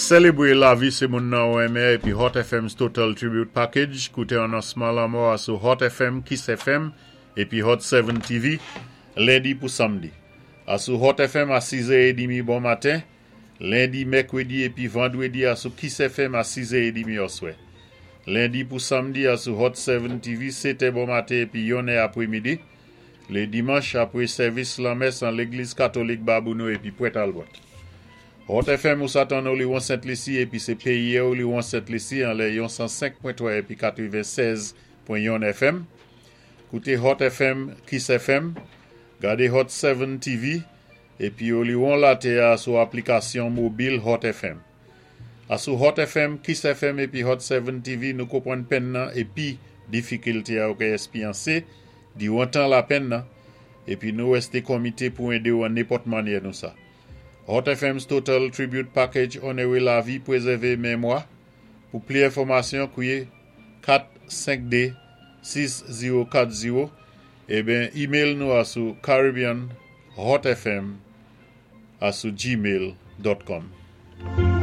Sélébwé lavi sé moun nan ou enmen épi Hot FM's Total Tribute Package, kouté anonsman lanmò a sou Hot FM, Kiss FM épi Hot 7 TV, lendi pou samdi. A sou Hot FM a 6h30 bon maten, lendi, mèkwédi épi vandwédi a sou Kiss FM a 6h30 oswè. Lendi pou samdi a sou Hot 7 TV, 7 bon maten épi 1 apwémidi. Lé dimanch apwé sèvis lanmès an Légliz Katolik Babouno épi Pwent Albert. Hot FM ou sa tann Oliwon Sent Lisi épi sé péyi Oliwon Sent Lisi anlè yon 105.3 épi 96.1 FM. Kouté Hot FM, Kiss FM, gadé Hot 7 TV épi Oliwon Laté a sou aplikasyon mobil Hot FM. A sou Hot FM, Kiss FM épi Hot 7 TV nou konpwann penn nan épi difikilté a ou kay èspéryansé diwan tan lapenn nan épi nou wèsté komité pou édé ou an nenpòt mannyè nou sa. Hot FM's Total Tribute Package onoré lavi pwézèvé mémwa. Pou pli enfòmasyon, kwié 452 6040 eben email nou a sou caribbeanhotfm a sou gmail.com.